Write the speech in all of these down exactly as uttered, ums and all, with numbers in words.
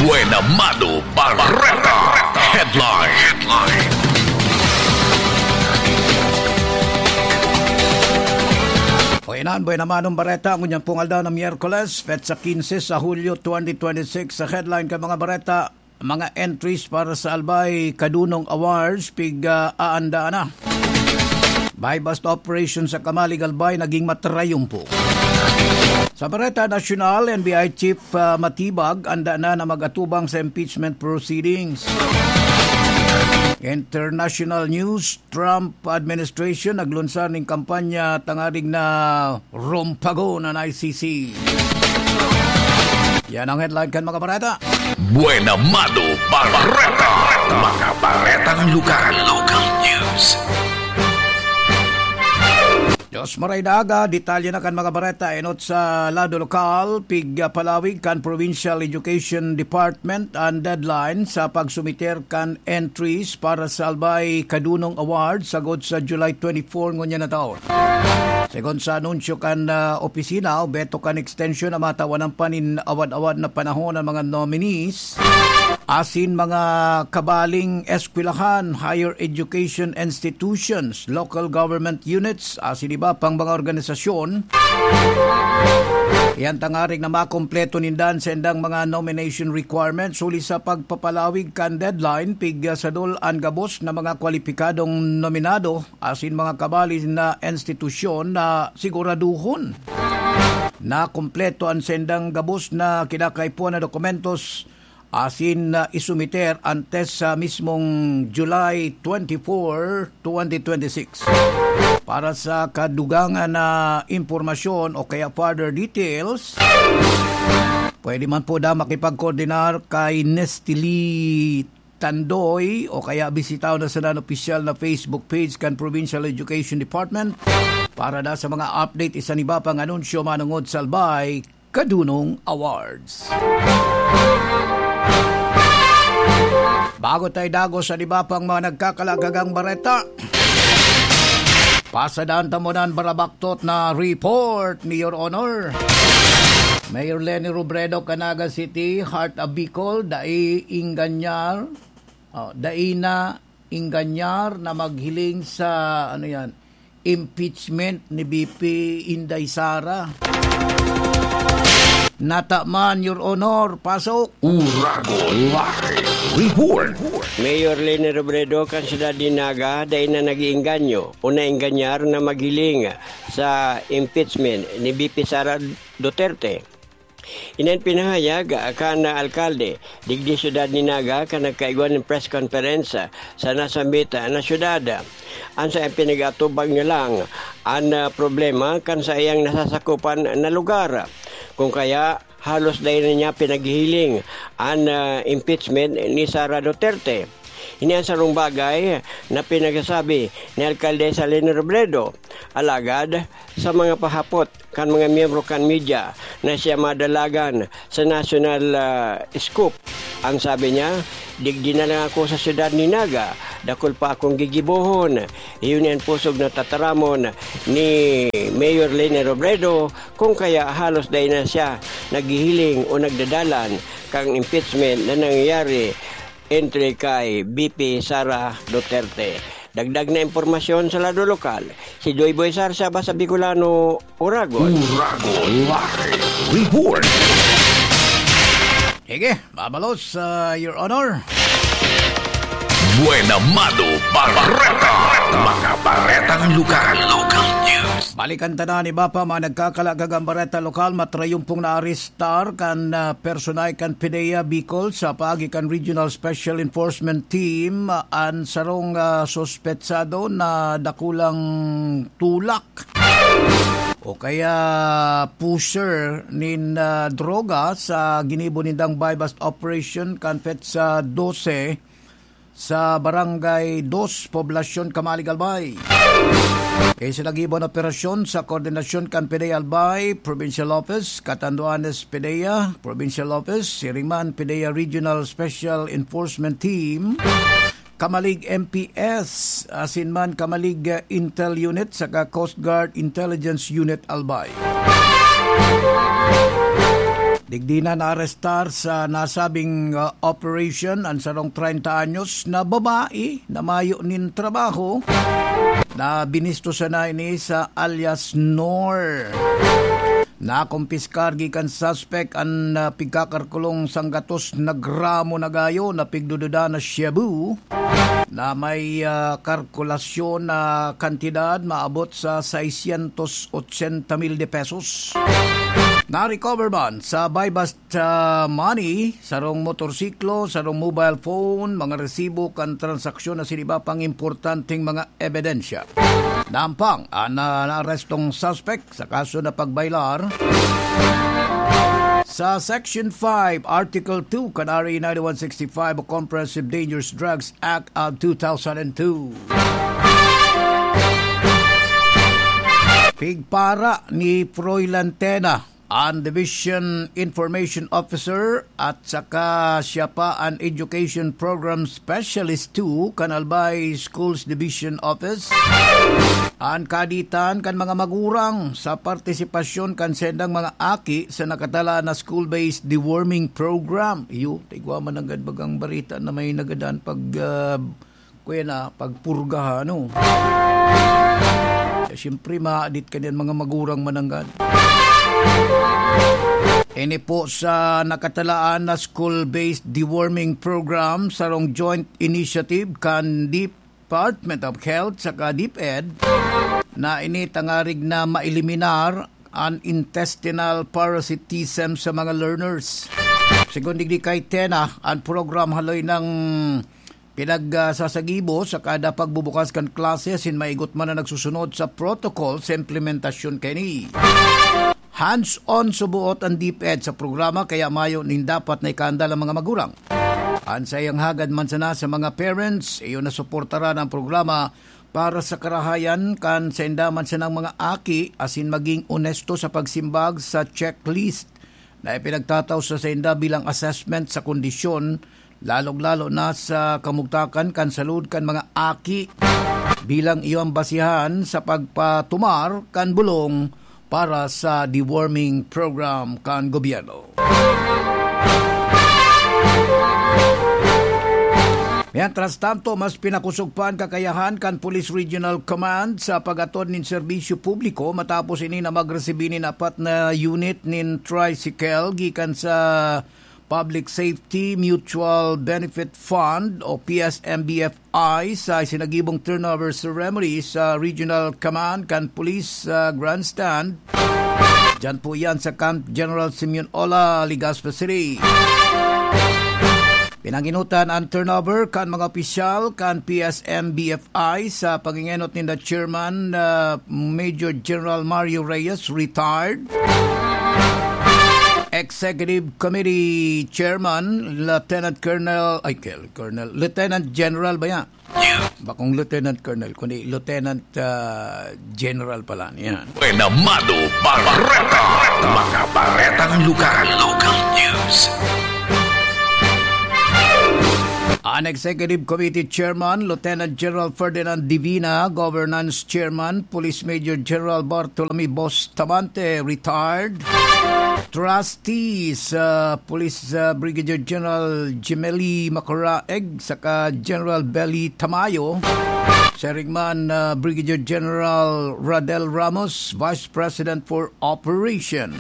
Buena Mano Bareta Headline. Headline. Buena Mano Bareta, ngunyan pong aldaw na Miyerkules, petsa quince sa Hulyo twenty twenty-six. Sa headline kan mga bareta, mga entries para sa Albay Kadunong Awards, pig, ah, aanda na. Buy-bust operation sa Kamalig Albay naging matrayumpo. Sa Bareta Nasyonal, N B I Chief, ah, Matibag, anda na na mag-atubang sa impeachment proceedings. International news, Trump administration naglunsar ning kampanya tanganing na rumpagon an I C C. Yan ang headline kan mga bareta. Buena Mano Bareta. Mga baretang lokal. Local news. Diyos maray daga, detalye na kan mga bareta. Enot sa lado lokal, pig, ah, palawig kan Provincial Education Department an deadline sa pagsumiter kan entries para sa Albay Kadunong Award sagod sa July twenty-four ngunyan na taon. Segun sa anunsyo kan, ah, opisina, obheto kan extension na matawan pa nin awad-awad na panahon ang mga nominees asin mga kabaling eskwelahan, higher education institutions, local government units, asin iba pang mga organisasyon. Iyan tanganing na makumpleto ninda an saindang mga nomination requirements huli sa pagpapalawig kan deadline, pig, ah, sadol an gabos na mga kwalipikadong nominado asin mga kabali na institusyon na siguraduhon na kumpleto an saindang gabos na kinakaipuhan na dokumentos asin, ah, isumiter antes sa mismong July twenty-four, twenty twenty-six. Para sa kadugangan na impormasyon o kaya further details, pwede man po na makipagkoordinar kay Nestili Tandoy o kaya bisitaw na sana an opisyal na Facebook page kan Provincial Education Department para na sa mga update isan iba pang anunsyo manungod sa Albay Kadunong Awards. Bago tayo dagos sa iba pang mga nagkakalagagang bareta, pasadaan ta muna an barabaktot na report ni Your Honor. Mayor Leni Robredo, Canaga City, Heart of Bicol, dai inganyar, oh, dai na inganyar na maghiling sa, ano yan, impeachment ni V P Inday Sara. Nataman, Your Honor. Pasok. Uragon Live Report. Mayor Leni Robredo kan siyudad ni Naga dai na nag-iengganyo o naengganyar na maghiling sa impeachment ni V P Sara Duterte. Iyan pinahayag kan alkalde digdi siyudad ni Naga kan nagkaigwa nin press conference sa nasambit na siyudad. An saiyang pinag-atubang niya lang an, ah, problema kan saiyang nasasakupan na lugar. Kung kaya, halos dai na niya pinaghihiling an, ah, impeachment ni Sara Duterte. Ini an sarong bagay na pinagsasabi ni Alkalde Leni Robredo. Alagad, sa mga pahapot kan mga miyembro kan media na siya madalagan sa national, ah, scoop, ang sabi niya, "Digdi na lang ako sa siyudad ni Naga, dakul pa akong gigibohon." Iyon an pusog na tataramon ni Mayor Leni Robredo, kung kaya halos dai na siya naghihiling o nagdadalan kan impeachment na nangyayari entre kay V P Sara Duterte. Dagdag na impormasyon sa lado lokal, si Joy Boy Sarsa, Basa Bicolano, Uragon. Uragon Live Report. Sige, babalos, ah, Your Honor. Buena Mano Bareta. Mga baretang lokal. Local news. Balikan ta na an iba pa mga nagkakalagagang bareta lokal. Matrayumpong naarestar kan, ah, personahe kan PDEA Bicol sa paagi kan Regional Special Enforcement Team, ah, an sarong, ah, suspetsado na dakulang tulak o kaya pusher nin, ah, droga sa ginibo nindang buy-bust operation kan petsa dose sa Barangay Dos, Poblacion Camalig, Albay. Isinagibo an operasyon sa koordinasyon kan PDEA Albay Provincial Office, Catanduanes PDEA Provincial Office, siring man PDEA Regional Special Enforcement Team, Camalig M P S, asin man Camalig, uh, Intel Unit saka Coast Guard Intelligence Unit Albay. Igdi na naarestar sa nasabing, ah, operation an sarong treinta anyos na babae na mayo nin trabaho na binisto sana ini sa alias Nor. Nakumpiskar gikan suspect an, ah, pigkakarkulong sanggatos na gramo na gayo na pigdududa na shabu na may, ah, kalkulasyon na kantidad maabot sa seiscientos ochenta mil de pesos. Na-recover man sa buy-bust, ah, money, sarong motorsiklo, sarong mobile phone, mga resibo kan transaksyon asin iba pang importanteng mga ebidensya. Nampang an, ah, naarestong suspect sa kaso na pagbailar sa Section five, Article two kan R A nine one six five o Comprehensive Dangerous Drugs Act of two thousand two. Pigpara ni Froilan Tena, an Division Information Officer, at saka siya pa an Education Program Specialist two kan Albay Schools Division Office, an kaditan kan mga magurang sa partisipasyon kan sendang mga aki sa nakatalaan na school-based deworming program. Iyo, tigwa man nanggad bagang barita na may nagadan pag, ah, kuya na, pagpurga, ano? Eh, siyempre, maadit ka niyan, mga magurang mananggad. Ini po sa nakatalaan na school-based deworming program, sarong joint initiative kan Department of Health saka DepEd, na ini tangarig na maeliminar an intestinal parasitism sa mga learners. Segun digdi kay Tena, an program haloy nang pinagsasagibo sa kada pagbubukas kan klase asin maigot man na nagsusunod sa protocol sa implementasyon kaini. Hands-on suboot an DepEd sa programa, kaya mayo nin dapat na ikaandal ang mga magurang. An saiyang hagad man sana sa mga parents, iyo na suportaran ang programa para sa karahayan kan sainda man sanang mga aki asin maging onesto sa pagsimbag sa checklist na ipinagtatao sa sainda bilang assessment sa kondisyon, lalong-lalo na sa kamugtakan kan salud kan mga aki, bilang iyo ang basihan sa pagpatumar kan bulong para sa deworming program kan gobyerno. Mientras tanto, mas pinakusog pa an kakayahan kan Police Regional Command sa pag-atod nin serbisyo publiko matapos ini na magresibi nin apat na unit nin tricycle gikan sa Public Safety Mutual Benefit Fund o P S M B F I sa isinagibong turnover ceremony sa Regional Command kan Police sa Grandstand. Diyan po yan sa Camp General Simeon Ola, Legazpi City. Pinanginutan ang turnover kan mga opisyal kan P S M B F I sa pangingenot ninda Chairman, ah, Major General Mario Reyes, retired. Executive Committee Chairman, Lieutenant Colonel, ay, Colonel, Lieutenant General ba yan? Bakong Lieutenant Colonel, kundi Lieutenant, ah, General pala niyan. Buena Mado Barreta. Mga baretang lugar. Local news. An Executive Committee Chairman, Lieutenant General Ferdinand Divina, Governance Chairman, Police Major General Bartolome Bustamante, retired. Trustees, ah, Police, ah, Brigadier General Jimeli Macaraeg, saka General Belly Tamayo. Siring man, ah, Brigadier General Radel Ramos, Vice President for Operation.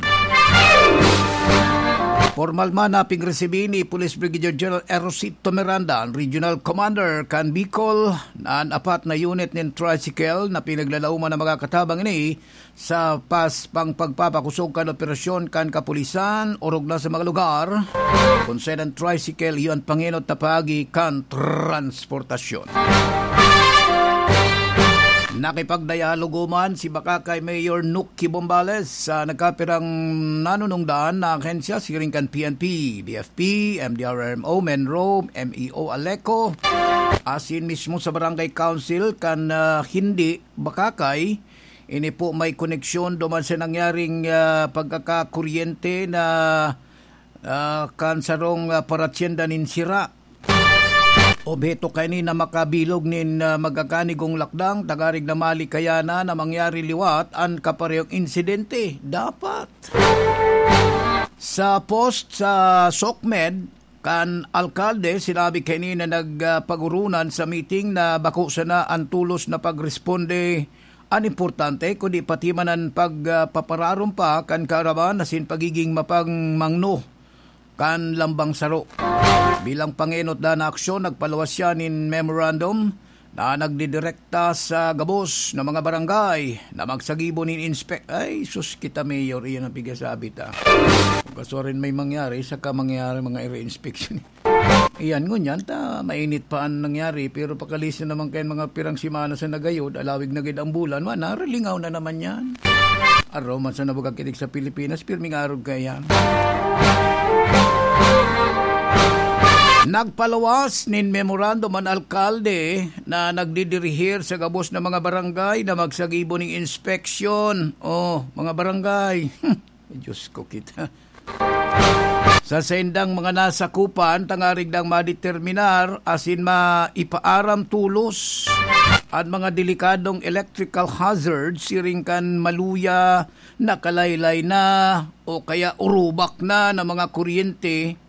Pormal man na pingresibi ni Police Brigadier General Erosito Miranda, an Regional Commander kan Bicol, na an apat na unit nin tricycle na pinaglalauman na magkakatabang ini sa pas pang pagpapakosog kan operasyon kan kapulisan, orog na sa mga lugar kun saen an tricycle iyo an pangenot na paagi kan transportasyon. Nakipagdayalogo man si Bacacay Mayor Nuki Bombales sa nagkapirang nanunungdan na ahensya siring kan P N P, B F P, M D R R M O, MENRO, M E O ALECO, asin mismo sa Barangay Council kan, ah, Hindi, Bacacay. Ini po may koneksyon duman sa nangyaring, ah, pagkakakuryente na, ah, kan sarong, ah, paratyenda nin sira. Obheto kaini na makabilog nin, ah, magkakanigong lakdang, tangarig na malikayanan na mangyari liwat an kaparehong insidente. Dapat Sa post sa SOCMED kan alkalde, sinabi kaini na nagpagurunan sa meeting na bako sana an tolos na pagresponde an importante, kundi pati man an pagpapararom pa kan kaaraman asin pagiging mapangmangno kan lambang saro. Bilang pangenot na aksyon, nagpaluwas siya nin memorandum na nagdidirekta sa gabos na mga barangay na magsagibo nin inspek-, ay, sus, kita, Mayor, iyan ang pigasabi ta. Kung kasuarin may mangyari, saka mangyari mga ire-inspection. Iyan, ngunyan, ta, mainit pa ang nangyari, pero pakalisan naman kayan mga pirang simana sa nagayod, alawig na gid ang bulan, man, naralingaw na naman yan. Araw man sa nabugakitig sa Pilipinas, pirming arog kayan. Nagpaluwas nin memorandum an alkalde na nagdidirihir sa gabos na mga barangay na magsagibo nin inspeksyon. Oh, mga barangay. Diyos ko kita. Sa saindang mga nasakupan, tangarig nang madeterminar asin maipaaram tolos an mga delikadong electrical hazard siring kan maluya, nakalaylay na o kaya urubak na na mga kuryente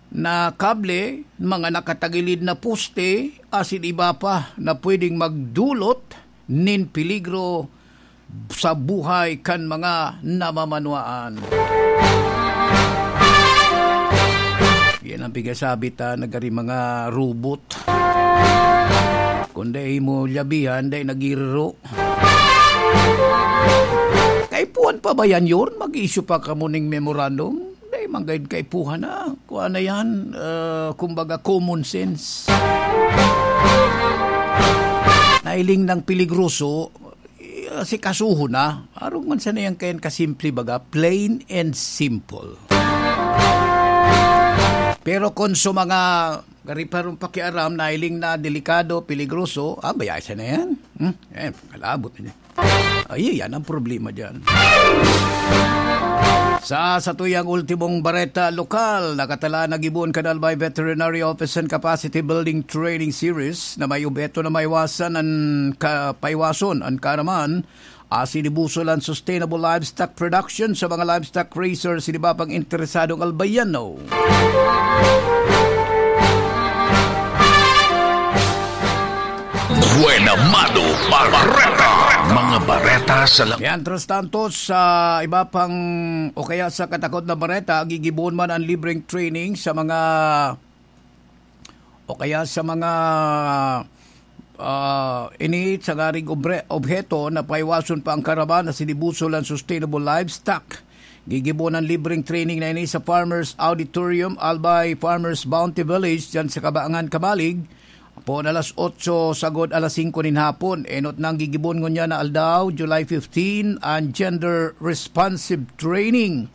na kable, mga nakatagilid na poste, asin iba pa na pwedeng magdulot nin peligro sa buhay kan mga namamanwaan. Yan ang pigasabi ta, nagari mga robot. Kung dai mo labihan, dai nagiriro. Kaipuhan pa ba yan, Yorn? Mag-issue pa kamo ning memorandum? Dai man gayud kaipuhan na. Kuha na yan, ah, kumbaga common sense. Nailing ng peligroso, eh, si kasuho na. Arog man sana yan kayan kasimple baga, plain and simple. Pero kung sa mga gari pa rong pakiaram, nailing na delikado, peligroso, ah, bayaan siya na yan. Hmm? Eh, kalabot na niya. Ay, yan ang problema dyan. Sa satuyang ultimong bareta lokal, nakatala na gibohon kan Albay Veterinary Office and Capacity Building Training Series na may obheto na maiwasan an ka-, paiwason an kaaraman, asin ibusol an sustainable livestock production sa mga livestock raisers, iba pang interesadong Albayano. Buena Mano Bareta. Mga bareta sa la- Mientras tanto, sa iba pang o kaya sa katakot na bareta, gigibohon man ang libreng training sa mga o kaya sa mga, ah, ini sa ngaring obre-, obheto na paiwason pa ang kaaraman asin ibusol ang sustainable livestock. Gigibohon ang libreng training na ini sa Farmers Auditorium, Albay Farmers Bounty Village, dyan sa Kabaangan, Camalig. Poon alas otso sagod alas singko nin hapon. Enot nang gigibohon ngunyan na aldaw, July fifteen, ang gender responsive training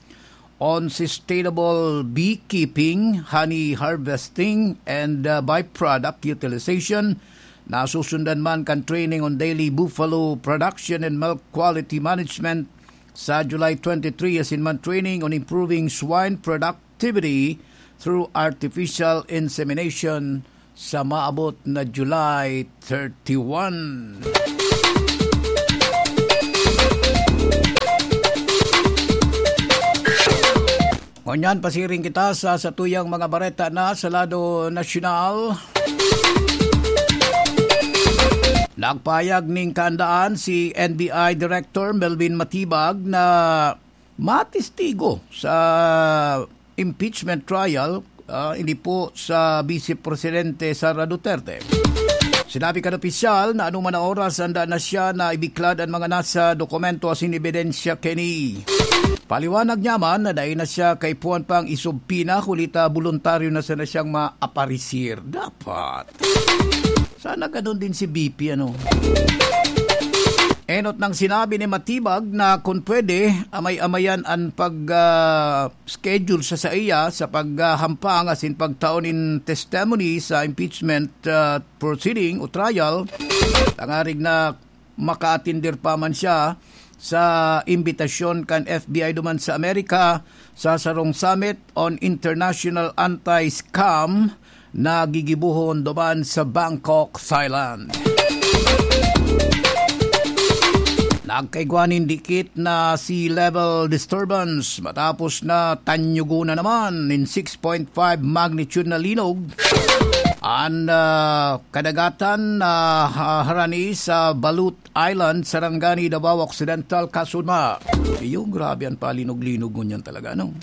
on sustainable beekeeping, honey harvesting, and, uh, byproduct utilization. Nasusundan man kan training on daily buffalo production and milk quality management sa July twenty-three, asin man training on improving swine productivity through artificial insemination sa maabot na July thirty-one. Ngunyan, pasiring kita sa satuyang mga bareta na sa lado nasyonal. Nagpahayag ning kaandaan si N B I Director Melvin Matibag na matistigo sa impeachment trial, ah, ini po sa Vice Presidente Sara Duterte. Sinabi kan opisyal na anuman na oras handa na siya na ibiklad an mga nasa dokumento asin ebidensya kini. Paliwanag niya man na dai na siya kaipuhan pang isubpina, huli ta boluntaryo na sana siyang maaparisir. Dapat. Sana ganun din si V P, ano? Enot nang sinabi ni Matibag na kung pwede, amay-amayan an pag, ah, schedule sa saiya sa paghahampang asin pagtao nin testimony sa impeachment, ah, proceeding o trial, tangarig na makaatender pa man siya sa imbitasyon kan F B I duman sa Amerika sa sarong summit on international anti-scam na gigibohon duman sa Bangkok, Thailand. Agkaigwa nin dikit na sea level disturbance matapos na tanyugon na naman nin six point five magnitude na linog an, ah, kadagatan na, ah, harani sa Balut Island, Sarangani, Davao Occidental, Kasuma. Iyo, grabe an palinog-linog ngunyan talaga, no?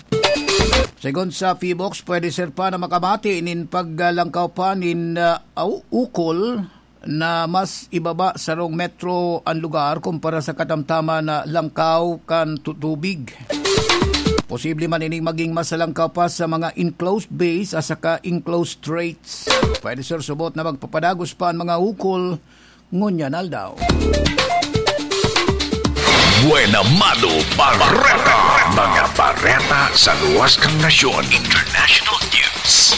Segun sa PHIVOLCS, pwede ser pa na makamati nin paglangkaw pa nin, ah, au-, ukol na mas ibaba sarong metro an lugar kumpara sa katamtaman na langkaw kan tu-, tubig. Posible man ining maging mas langkaw pa sa mga enclosed bays at saka enclosed straits. Pwede ser subot na magpapadagos pa an mga ukol ngunyan aldaw. Buena Mano Bareta. Mga bareta sa luwas kan nasyon. International news.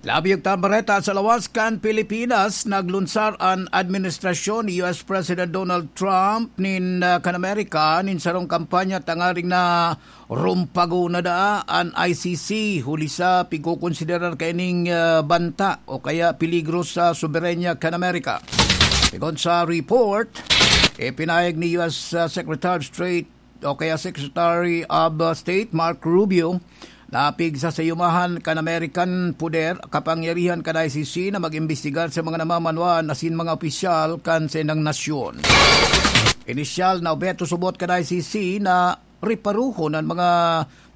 Labi ta bareta sa lawas kan Pilipinas, naglunsar an administrasyon ni U S President Donald Trump nin, ah, kan Amerika nin sarong kampanya tangaring na rumpagon na daa an I C C, huli sa pigkokonsiderar kaining, ah, banta o kaya peligro sa soberanya kan Amerika. Segun sa report, ipinahayag ni U S, ah, Secretary of State o kaya Secretary of, ah, State Marco Rubio na pigsasayumahan kan American poder, kapangyarihan kan I C C na mag-imbestigar sa mga namamanwaan asin mga opisyal kan saindang nasyon. Inisyal na obheto subot kan I C C na reparohon an mga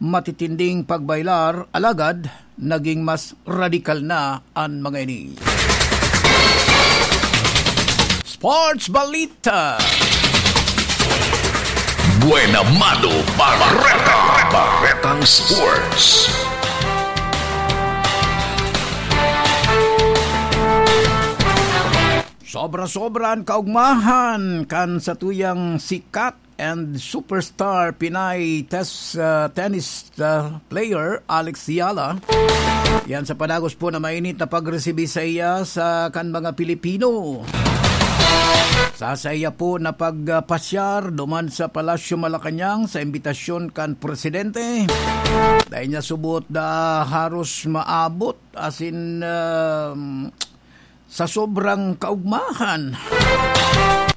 matitinding pagbailar, alagad naging mas radikal na an mga ini. Sports Balita. Buena Mano Bareta. Baretang Sports. Sobra-sobra an kaugmahan kan satuyang sikat and superstar Pinay tes-, ah, tennis, ah, player Alex Eala. Yan sa padagos po na mainit na pagresibi saiya sa kan mga Pilipino. Sa saiya po na pagpasyar duman sa Palasyo Malacañang sa imbitasyon kan presidente, dai niya subot na haros maabot, asin, ah, sa sobrang kaugmahan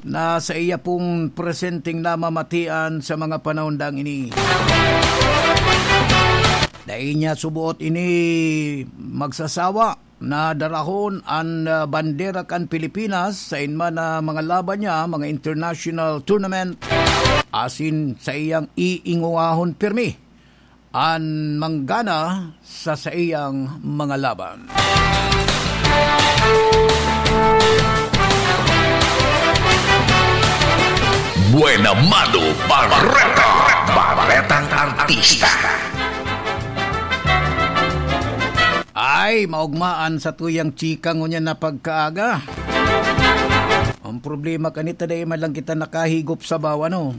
na saiya pong presenteng namamatian sa mga panahon dang ini. Dai niya subot ini magsasawa na darahon an, ah, bandera kan Pilipinas sain man na mga laban niya, mga international tournament, asin saiyang iingowahon pirmi an manggana sa saiyang mga laban. Buena Mano Bareta. Baretang Artista. Ay, maugmaan sa tuyang chika ngunyan na pagkaaga. Ang problema kanita, dai man lang kita nakahigop sa bawa, no?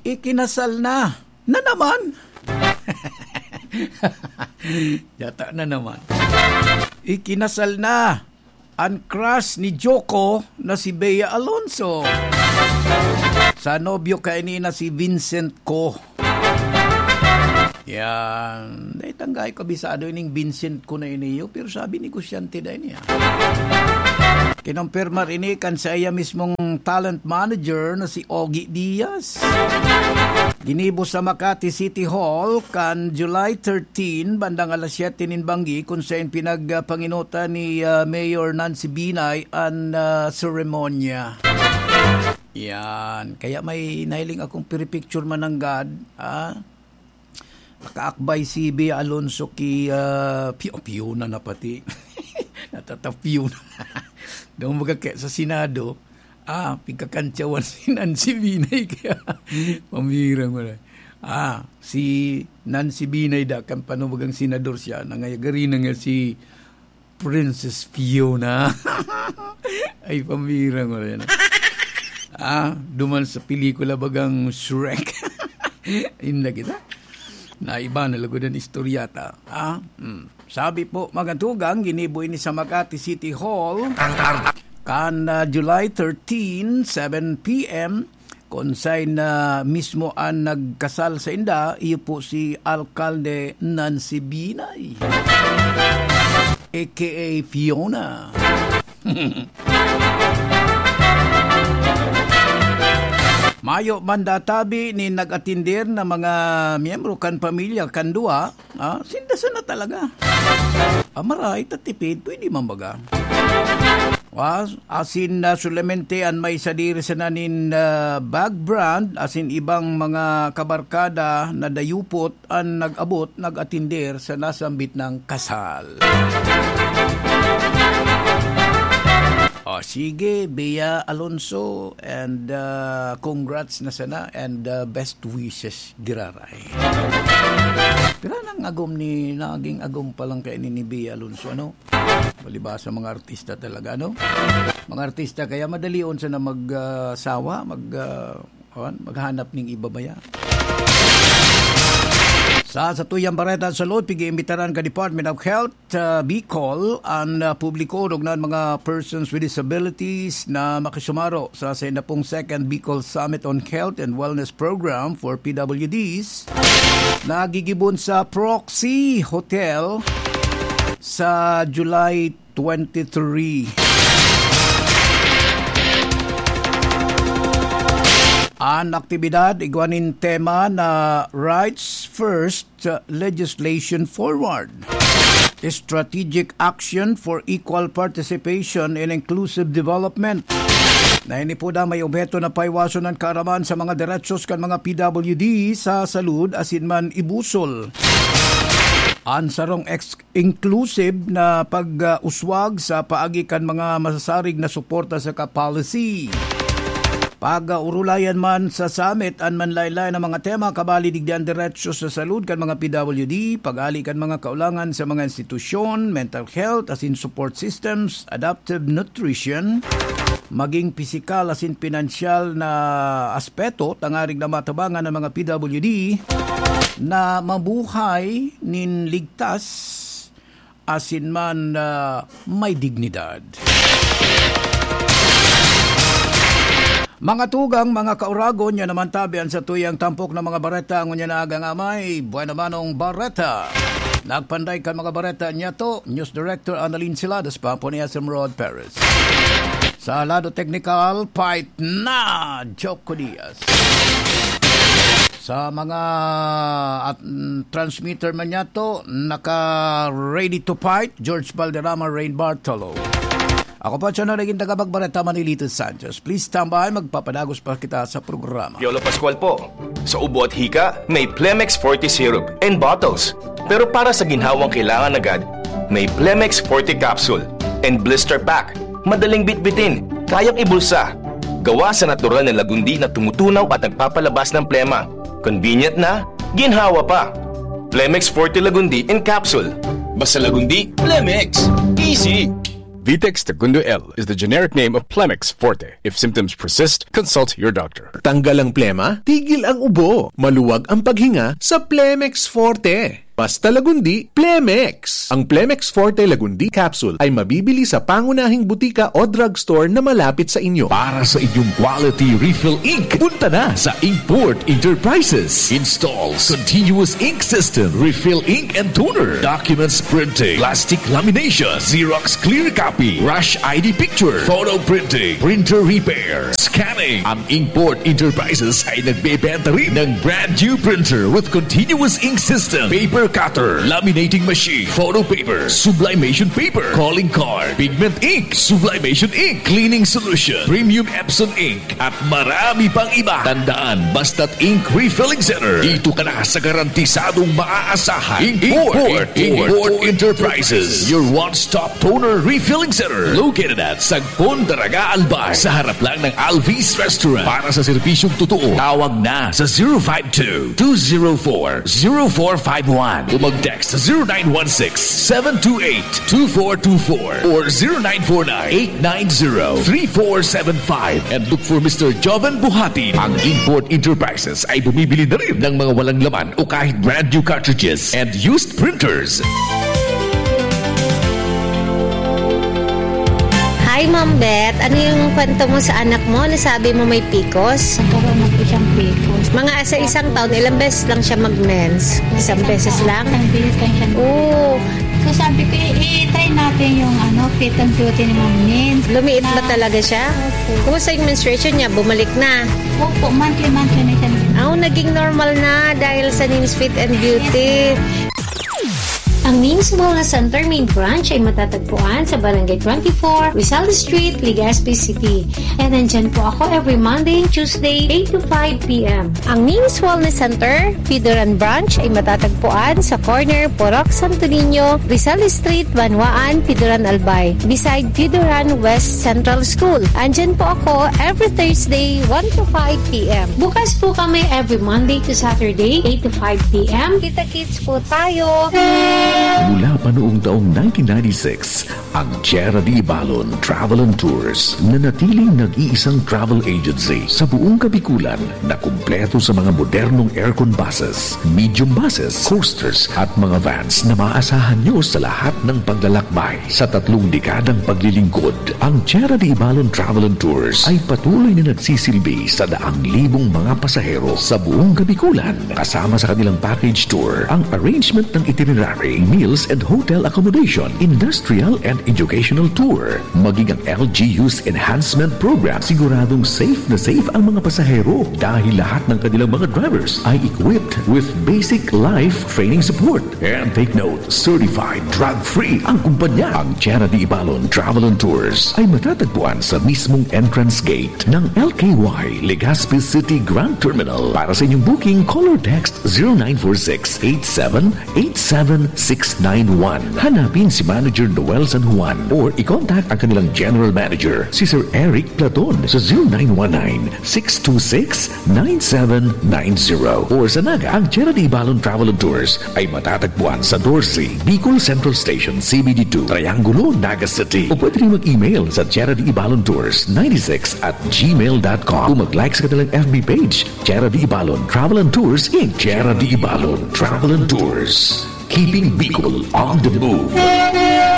Ikinasal na. Na naman? Yata na naman. Ikinasal na an crush ni Joko na si Bea Alonso sa nobyo kaini na si Vincent Co. Yan. Dai tanggay kabisado ining Vincent Co na iniyo, pero sabi negosyante dai niya. Kinumpirmar ini kan saiya mismong talent manager na si Ogie Diaz. Ginibo sa Makati City Hall kan July thirteen, bandang alas siyete nin banggi, kun saen pinagpanginutan ni, ah, Mayor Nancy Binay an, ah, seremonya. Yan. Kaya may nahiling akong piripicture mananggad, ah. Nakaakbay si Bea Alonso ki, ah, Pio-, Piona na pati. Natata-Piona. Daw baga kaya sa Senado, ah, pigkakantsawan si Nancy Binay kaya pamirang wala. Ah, si Nancy Binay da kan panubagang senador siya, nangayagari na nga si Princess Fiona. Ay, pamirang ko rin. Ah, duman sa pelikula bagang Shrek. Inda kita. Na iba na lugod ang istorya ta. Ah, hmm. Sabi po, mga tugang, ginibo ini sa Makati City Hall. Kan, ah, July thirteen, seven p m, kun saen na mismo an nagkasal sainda, iyo po si Alkalde Nancy Binay, A K A Fiona. Mayo man databi nin nag-atender na mga miyembro kan pamilya kan duwa, ah, sinda sana talaga. Amaray, tatipid, pwede man baga. Was, asin na solamente an may sadiri sana nin, ah, bag brand, asin ibang mga kabarkada na dayupot an nag-abot, nag-atender sa nasambit na kasal. O sige, Bea Alonso, and, ah, congrats na sana, and, ah, best wishes, giraray. Pero nang agom ni, naging agom pa lang kaini ni Bea Alonso, ano? Palibasa mga artista talaga, no? Mga artista, kaya madalion sana mag, ah, sawa, mag, ah, on, maghanap ning iba baya. Sa satuyang bareta sa Lod, pig-iimbitaran ka Department of Health, ah, Bicol, an, ah, publiko, orog na an mga persons with disabilities na makisumaro sa saindapong Second Bicol Summit on Health and Wellness Program for P W Ds na gigibon sa Proxy Hotel sa July twenty-three. An aktibidad igwa nin tema na Rights First Legislation Forward, Strategic Action for Equal Participation in Inclusive Development. Na ini po na may obheto na paiwason an kaaraman sa mga derechos kan mga P W D sa salud asin man ibusol an sarong ex-, inclusive na pag-uswag sa paagi kan mga masasarig na suporta saka policy. Pag-urulayan man sa summit an manlaen-laen na mga tema, kabali digdi an derecho sa salud kan mga P W D, pag-ali kan mga kaulangan sa mga institusyon, mental health asin support systems, adaptive nutrition, maging pisikal asin pinansyal na aspeto, tangarig na matabangan ang mga P W D na mabuhay nin ligtas asin man, ah, may dignidad. Mga tugang, mga kauragon, yan naman tabi an satuyang tampok na mga bareta ngunyan na agang amay. Buena Manong Bareta. Nagpanday kan mga bareta niyato, News Director Annalyn Siladas, Papo ni S M Rod Perez. Sa lado teknikal, pait na Choco Diaz. Sa mga at, mm, transmitter man niyato, naka-ready to fight, George Valderrama, Rain Bartolo. Ako po, siya na naging tagapagbareta, Manilito Sanchez. Please stand by, magpapadagos pa kita sa programa. Piolo Pascual po. Sa ubo at hika, may Plemex Forte Syrup and bottles. Pero para sa ginhawang kailangan agad, may Plemex Forte Capsule and Blister Pack. Madaling bitbitin, kayang ibulsa. Gawa sa natural na lagundi na tumutunaw at nagpapalabas ng plema. Convenient na, ginhawa pa. Plemex Forte Lagundi in Capsule. Basta Lagundi, Plemex. Easy! Vitex Tagundo L is the generic name of Plemex Forte. If symptoms persist, consult your doctor. Tanggal ang plema, tigil ang ubo. Maluwag ang paghinga sa Plemex Forte. Basta Lagundi, Plemex. Ang Plemex Forte Lagundi Capsule ay mabibili sa pangunahing butika o drugstore na malapit sa inyo. Para sa inyong quality refill ink, punta na sa Inkport Enterprises. Installs continuous ink system, refill ink and toner, documents printing, plastic lamination, Xerox clear copy, rush I D picture, photo printing, printer repair, scanning. Ang Inkport Enterprises ay nagbebenta rin ng brand new printer with continuous ink system, paper cutter, laminating machine, photo paper, sublimation paper, calling card, pigment ink, sublimation ink, cleaning solution, premium Epson ink, at marami pang iba. Tandaan, basta't ink refilling center, dito ka na sa garantisadong maaasahan. Import, Import, Import Enterprises, your one-stop toner refilling center, located at Sagpon, Daraga, Albay, sa harap lang ng Alvis Restaurant. Para sa serbisyong totoo, tawag na sa zero five two, two zero four, zero four five one o mag-text sa zero nine one six, seven two eight, two four two four or zero nine four nine, eight nine zero, three four seven five and look for Mister Joven Buhatin. Ang Import Enterprises ay bumibili na rin ng mga walang laman o kahit brand new cartridges and used printers. Hi, Ma'am Beth. Ano yung kwento mo sa anak mo? Nasabi mo may picos? Nagkaroon na po siyang picos. Mga sa isang taon, ilang beses lang siya mag-mens? Isang beses lang? Isang beses lang siya. Oo. So sabi ko, "I-, i-try natin yung ano, fit and beauty ni Ma'am Nins." Lumiit ba Na talaga siya? Opo. Kumusta yung menstruation niya? Bumalik na? Opo, monthly-monthly na siya. Aw, naging normal na dahil sa Nins Fit and Beauty. Ang Nins Wellness Center main branch ay matatagpuan sa Barangay twenty-four, Rizal Street, Legazpi City. And nandyan po ako every Monday and Tuesday, eight to five p m. Ang Nins Wellness Center, Pidoran Branch, ay matatagpuan sa corner Purok Santo Niño, Rizal Street, Banwaan, Pidoran, Albay, beside Pidoran West Central School. Andyan po ako every Thursday, one to five p m. Bukas po kami every Monday to Saturday, eight to five p m. Kita-kits po tayo! Mula pa noong taong nineteen ninety-six, ang Tierra de Ibalon Travel and Tours, nanatiling nag-iisang travel agency sa buong Kabikulan na kumpleto sa mga modernong aircon buses, medium buses, coasters at mga vans na maaasahan nyo sa lahat ng paglalakbay. Sa tatlong dekadang paglilingkod, ang Tierra de Ibalon Travel and Tours ay patuloy na nagsisilbi sa daang libong mga pasahero sa buong Kabikulan. Kasama sa kanilang package tour ang arrangement ng itinerary, meals and hotel accommodation, industrial and educational tour, maging ang L G U's enhancement program. Siguradong safe na safe ang mga pasahero dahil lahat ng kanilang mga drivers ay equipped with basic life training support. And take note, certified drug-free ang kumpanya. Ang Tierra de Ibalon Travel and Tours ay matatagpuan sa mismong entrance gate ng L K Y Legazpi City Grand Terminal. Para sa inyong booking, call or text zero nine four six eight seven eight seven six nine one. Hanapin si Manager Noel San Juan or i-contact ang kanilang General Manager, si Sir Eric Platon, sa zero nine one nine six two six nine seven nine zero. Or sa Naga, ang Tierra de Ibalon Travel and Tours ay matatagpuan sa Dorsey, Bicol Central Station, C B D two, Triangulo, Naga City. O pwede rin mag-email sa Tierra de Ibalon Tours ninety-six at gmail dot com o mag-like sa kanilang F B page, Tierra de Ibalon Travel and Tours, Inc. Tierra de Ibalon Travel and Tours. Keeping Bicol on the move.